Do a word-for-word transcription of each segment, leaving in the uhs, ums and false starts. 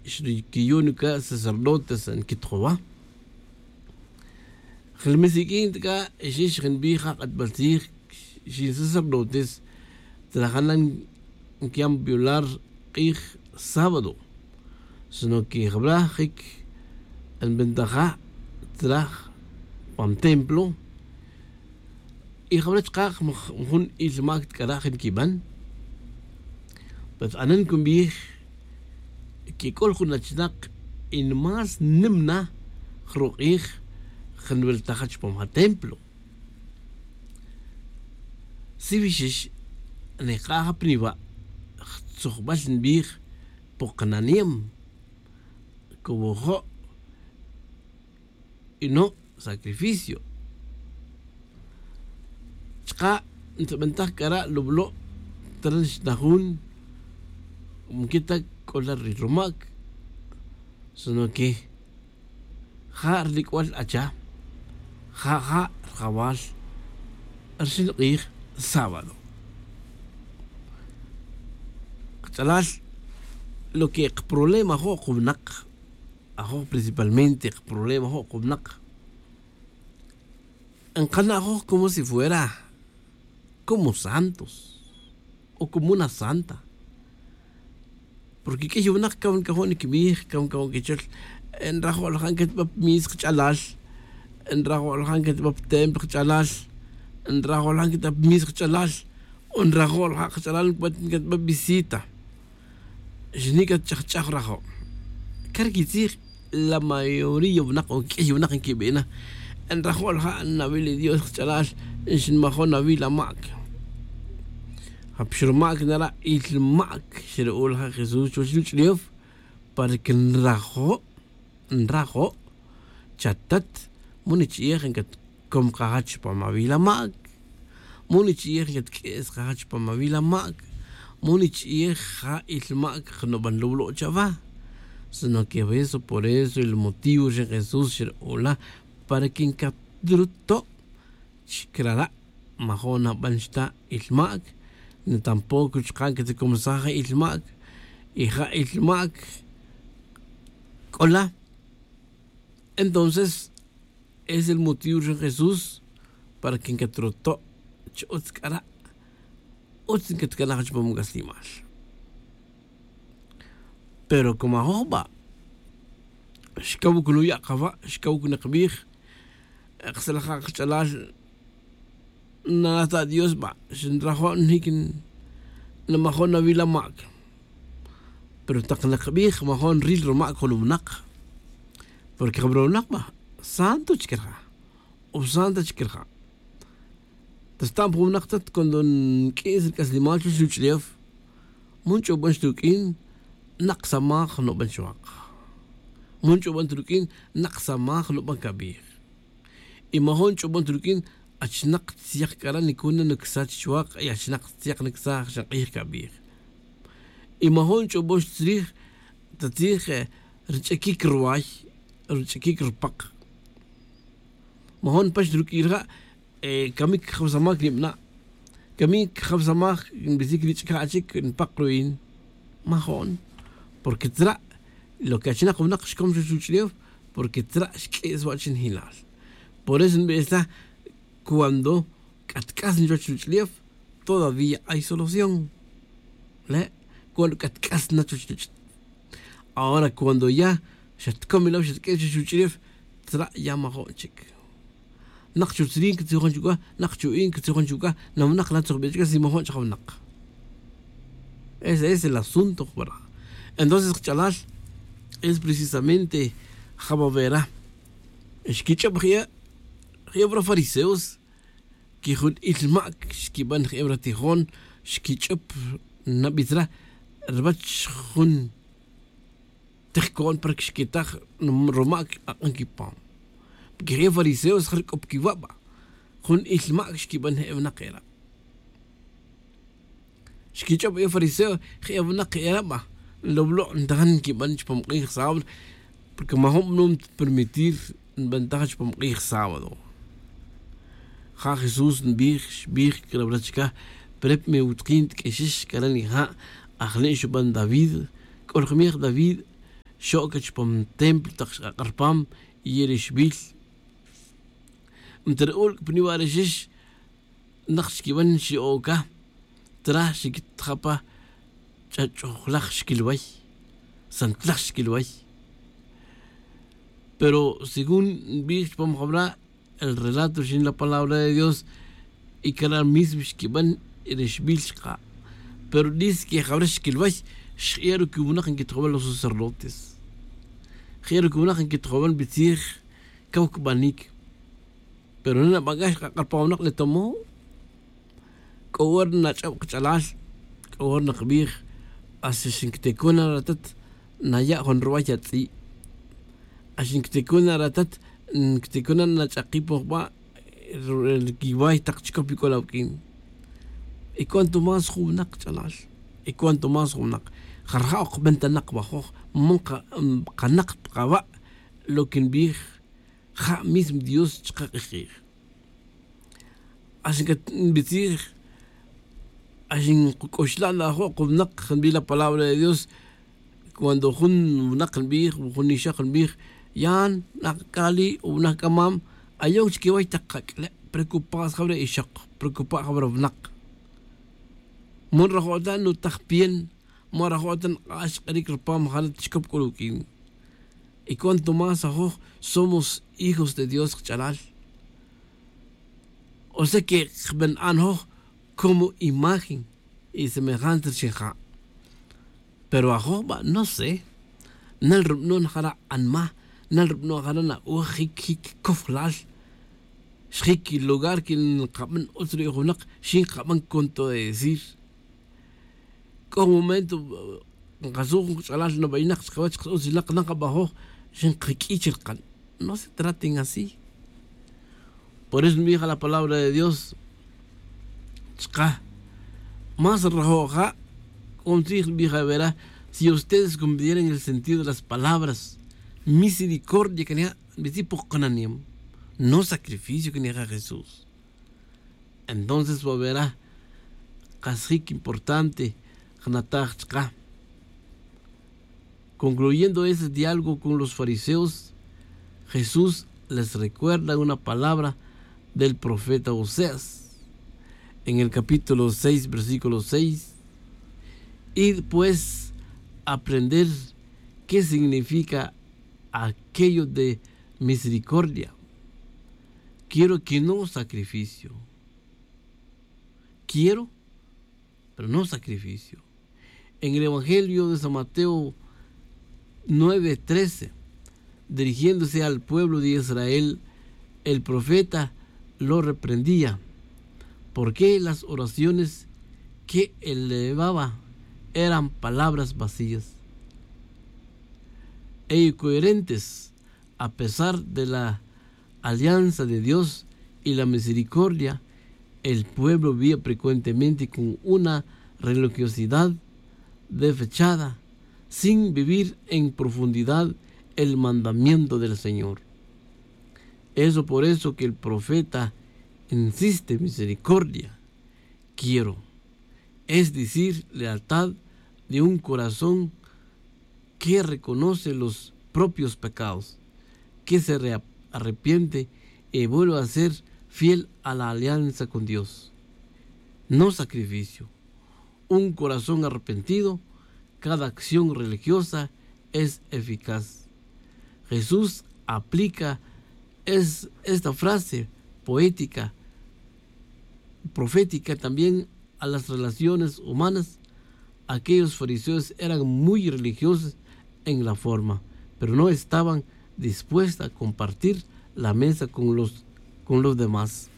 xriquiyon c'a sacerdotes nquitjowa. Jilmis iq'uin ta c'a xix jinbij ja k'atbal tzij xin sacerdotes trajan nquiyan violar k'ij sábado, sino que jabra jic nbentaja traj pan templo. Y jabra chka' jun il mac c'a ra' jin quiban. Pues anen cunbij que c'o jun achinak y más nim na jruk'ij jin nweltaja chupam ja templo. Siwixix nika'a ja piniwa' jtzujbal nbij pu kananiem. Cowojo' y no sacrificio. Chka' ntz'abantaj c'a ra' lublo' tran xnajun. Mquita c'o la ri rumac, sino que ja' rilic'ual acha ja ja' rjawal rxin k'ij sábado. Kach'alal lo que kaproblema jo' kawnak, ajoj principalmente kaproblema jo' kawnak, nkana' ajoj como si fuera como santos o como una santa. Porque q'uiy winak caw ncajo' niquibij, caw ncajo' quichol, nrajo' lajan catba' pmis kach'alal, nrajo' lajan catba' ptem kach'alal, nrajo' lajan catba' pmis kach'alal, o nrajo' lajan kach'alal ncubat catba' visita. Xni catch'ajch'aj rajo'. Cariquitzij la mayoría winak o q'uiy winak nquibina, nrajo' lajan nawil dios kach'alal, xinmajo' nawil amac. Japax rumac nara' il mac xru'ul ja jesús chuwech ruch'ulef. Para que nrajo' nrajo'. Chatat, mu nich'iyej ncatcom kaja chupam awil amac. Mu nich'iyej ncatq'ues kaja chupam awil amac. Mu nich'iyej ja il mac knuban lublo' chawa. Sino que eso por eso el motivo ri jesús xru'ula para que ncatruto'. Chicrara' majo' naban xta il mac, ni tampoco chka' nquetacomsaj ja il mac. Y ja il mac c'ola. Entonces es el motivo ri jesús para que nquetroto' chi utz c'ara'. Utz nquetcanaj chupam c'aslimal. Pero como ajoj ba' xcaw cun uya' kaba' xcaw cun kabij. Ksalaj ja kach'alal nata' dios ba' xinrajo' njic nmajo' nawil amac. Pero tak nakabij majo' nril rumac jun winak. Porque jun rumac ba' santo chic rija' o santa chic rija'. Tasta'm jun winak tat cuando nq'uis ri c'aslimal chuwech ruch'ulef. Mu nch'obon xruq'uin nak samaj nuban chuwak. Mu nch'obon ta ruq'uin nak samaj nuban cabij. Y majo' nch'obon ta ruq'uin achnak tziyaq c'ara' nicuna nucsach chuwak y achnak tziyaq nucsaj xank'ij cabij. Y majo' nch'obon xtzrij ta tzij rich'aquic ruway, rich'aquic rupak. Majo' npax ruq'uin rija'. Camic jawsamaj nibana'. Camic jawsamaj nbisic rich'ca' chic npak ruin. Majo'n. Porque tzra' lo que achnak winak xcom chuwech ruch'ulef. Porque tzra' xq'ues wa' chinjilal. Por eso nbestaj cuando c'atc'as na chuwech ruch'ulef todavía hay solución. Le' cuando c'atc'as na chuwech ruch'ulef. Ahora cuando ya xatcom ila' xatq'ue' chuwech ruch'ulef tzra' ya majo'n chic. Nak chutzrin catzijon chuc'a nak chu'in catzijon chuc'a. Nawnak la tzojbe' chic si majo'n chajawnak. Ese es el asunto jubara'. Entonces kach'alal es precisamente jababera xquich'ob je' je' wara fariseos. Quijun il mac xquiban je' wara tijon xquich'ob nabitz ra' ruwech jun tijco'n para que xquitaj rumac ak'an quipam. Porque je' fariseos jarc'op quiwa' ba jun il mac xquiban je' winak era'. Xquich'ob je' fariseo je' winak era' ba. Loblo' ntajan nquiban chupam k'ij sábado. Porque majo'n bnum permitir nbantaj chupam k'ij sábado. Ja jesús nbij xbij c'a rawra chica. Prep me wutkin tq'uexix c'a ra' nija'. Ajle' xuban david. C'o rjumej david xo'ca chupam templo tak xk'ak'a rupam. Yerixbil nta ri ulc' pa niwa' rixix nak xquiban xi'oca traj xiquitja' pa ch'ach'ojlaj xquilway. Santlaj xquilway. Pero según nbij chupam jawra' el relato rixin la palabra de dios y cara' mismo xquiban rixbil xka'. Pero dis que jawra' xquilway xk'e' ru quiwunak nquitjowal los sacerdotes. Xk'e' ru quiwunak nquitjowal bitzij caw cbanic. Pero nena' bac'a xk'ak'a rupam winak le tomo c'o hora nach'ob kach'alal. C'o hora nakbij hasta xinctecon na ratat naya' jun ruway atz'i'. Hasta xinctecon na ratat nctecon na nach'aki' pon jba' quiway tak chicop ic'ol awuq'uin. Y cuanto más jun winak kach'alal y cuanto más jun winak jarja' ok bentanak wajoj man kanak pa kawa'. Lo que nbij ja' mismo dios chka k'ij k'ij. Ax nbitzij ax nkac'uxla' na ajo' kunak nbij la palabra de dios. Cuando jun winak nbij jun ixak nbij yan nak kali o winak c'amam ayon chiquiway tak kac'le' preocupar jawre' ixak preocupar jawre' winak. Mon rajo' ta nutaj pien. Mora jo'tan k'ax k'iric rupam jana' chicop c'ul uq'uin. Y cuanto más ajoj somos hijos de dios kach'alal. O sea que kbena'an joj como imagen y semejante rixin ja'. Pero ajoj ba' no sé nel rub'no' najara' anma nel rub'no' jara' na'oj jic jic cojlal. Xjic lugar que nkaban utz ri' junak xin nkaban contradecir. C'o momento nkasuj jun kach'alal nabayinak chkawech kasutzilak nakabajoj. Xinkaq'uiy chirkan no se traten así. Por eso nbij la palabra de dios chka más rajo' ja'. C'o ntzij nbij avera si ustedes cumplieran el sentido de las palabras misericordia cana' nbitzij pok kananem no sacrificio cana' ja' jesús. Entonces va verá kasjic importante jnataj chka. Concluyendo ese diálogo con los fariseos jesús les recuerda una palabra del profeta oseas en el capítulo seis versículo seis. Y pues aprender qué significa aquello de misericordia. Quiero que no sacrificio. Quiero pero no sacrificio. En el evangelio de san mateo nueve trece dirigiéndose al pueblo de israel el profeta lo reprendía. Porque las oraciones que elevaba eran palabras vacías e incoherentes. A pesar de la alianza de dios y la misericordia el pueblo vivía frecuentemente con una religiosidad desfechada sin vivir en profundidad el mandamiento del señor. Eso por eso que el profeta insiste misericordia quiero es decir lealtad de un corazón que reconoce los propios pecados que se arrepiente y vuelve a ser fiel a la alianza con dios. No sacrificio un corazón arrepentido. Cada acción religiosa es eficaz. Jesús aplica esta frase poética profética también a las relaciones humanas. Aquellos fariseos eran muy religiosos en la forma pero no estaban dispuestos a compartir la mesa con los con los demás.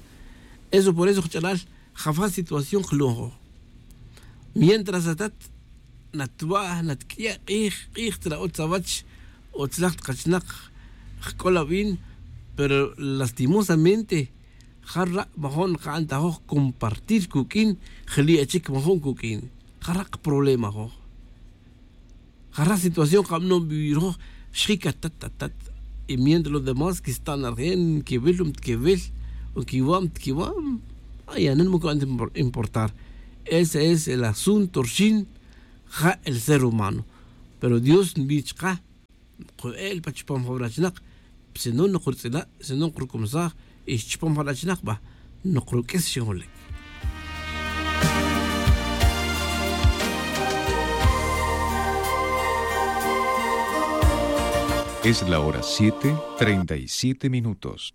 Eso por eso jch'alal jafa situación jlujo mientras atat natwa' natq'uiya' k'ij k'ij tra'o tzawach o tzlaj tkachinak jk'ol abin. Pero lastimosamente jara' majo'n nka'n ta joj compartir kuq'uin jli' achic majo'n kuq'uin jara' kaproblema joj. Jara' situación kabanon vivir joj xjic atat atat y mientras los demás que xta'n arjen nquiwil o mtquiwil o quiwa' mtquiwa'. Ay anen mo ca'n importar. Ese es el asunto rxin ja el ser humano. Pero dios nbij chka Nqo'el pa chupam jawra chinak, sino noqrutz'ila', sino noqrucumsaj, y chupam jawra chinak ba noqruq'uis xinjolec. Es la hora siete, treinta y siete minutos.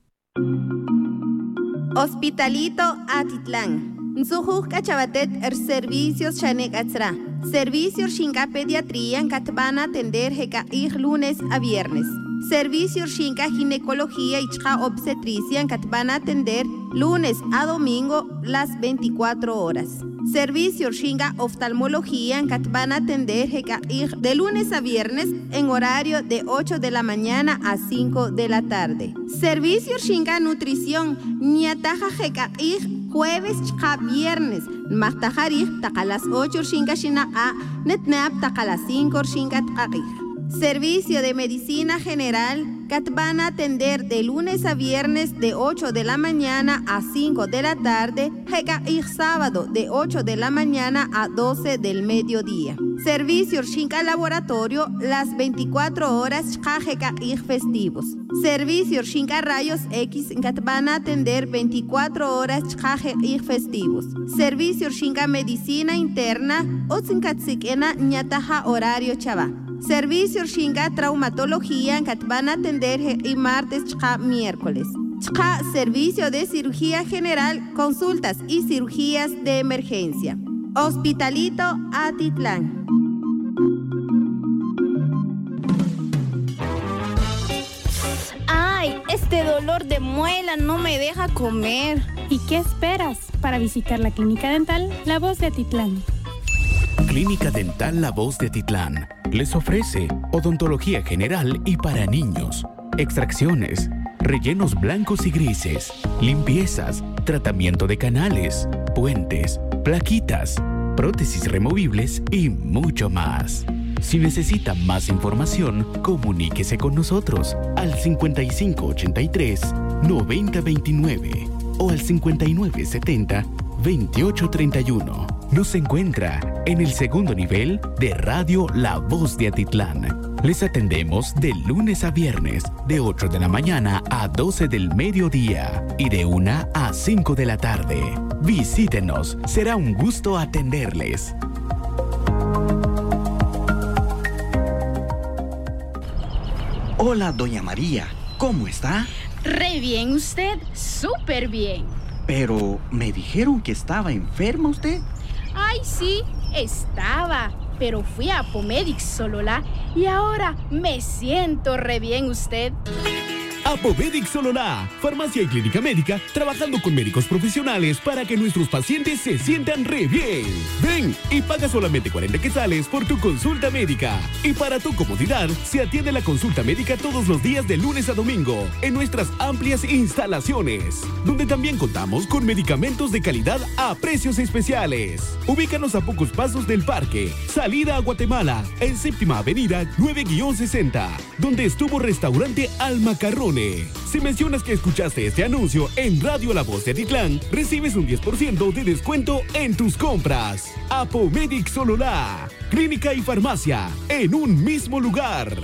Hospitalito Atitlán. Ntzujuj c'a chawatet rservicios xane c'a tzra. Servicio rxin c'a pediatría ncatban atender je c'a k'ij lunes a viernes. Servicio rxin c'a ginecología y chka obstetricia ncatban atender lunes a domingo las veinticuatro horas. Servicio rxin c'a oftalmología ncatban atender je c'a k'ij de lunes a viernes en horario de ocho de la mañana a cinco de la tarde. Servicio rxin c'a nutrición nyataj aj je c'a k'ij jueves chka viernes, nmajtaj arij tak a las ocho rxin c'a xinak'a', netne ap tak a las cinco rxin c'a tak a k'ij. Servicio de medicina general catban atender de lunes a viernes de ocho de la mañana a cinco de la tarde, je c'a k'ij sábado de ocho de la mañana a doce del mediodía. Servicio rxin c'a laboratorio las veinticuatro horas chka je c'a k'ij festivos. Servicio rxin c'a rayos X ncatban atender veinticuatro horas chka je k'ij festivos. Servicio rxin c'a medicina interna utz ncatsik'ina nyataj a horario chawa. Servicio rxin c'a traumatología ncatban atender je k'i martes chka miércoles. Chka servicio de cirugía general, consultas y cirugías de emergencia. Hospitalito Atitlán. Ay, este dolor de muela no me deja comer. ¿Y qué esperas para visitar la Clínica Dental La Voz de Atitlán? Clínica Dental La Voz de Atitlán les ofrece odontología general y para niños, extracciones, rellenos blancos y grises, limpiezas, tratamiento de canales, puentes, plaquitas, prótesis removibles y mucho más. Si necesita más información, comuníquese con nosotros al cincuenta y cinco ochenta y tres, noventa veintinueve o al cincuenta y nueve setenta, veintiocho treinta y uno. Nos encuentra en el segundo nivel de Radio La Voz de Atitlán. Les atendemos de lunes a viernes, de ocho de la mañana a doce del mediodía y de una a cinco de la tarde. Visítenos, será un gusto atenderles. Hola, doña María, ¿cómo está? Re bien, ¿usted? Súper bien. Pero me dijeron que estaba enferma usted. Ay, sí, estaba, pero fui a Apomedic Sololá y ahora me siento re bien, ¿usted? Apomedic Sololá, farmacia y clínica médica, trabajando con médicos profesionales para que nuestros pacientes se sientan re bien. Ven y paga solamente cuarenta quetzales por tu consulta médica. Y para tu comodidad, se atiende la consulta médica todos los días de lunes a domingo en nuestras amplias instalaciones, donde también contamos con medicamentos de calidad a precios especiales. Ubícanos a pocos pasos del parque, salida a Guatemala, en Séptima Avenida nueve guion sesenta, donde estuvo Restaurante Al Macarrone. Si mencionas que escuchaste este anuncio en Radio La Voz de Atitlán, recibes un diez por ciento de descuento en tus compras. Apomedic Sololá, clínica y farmacia en un mismo lugar.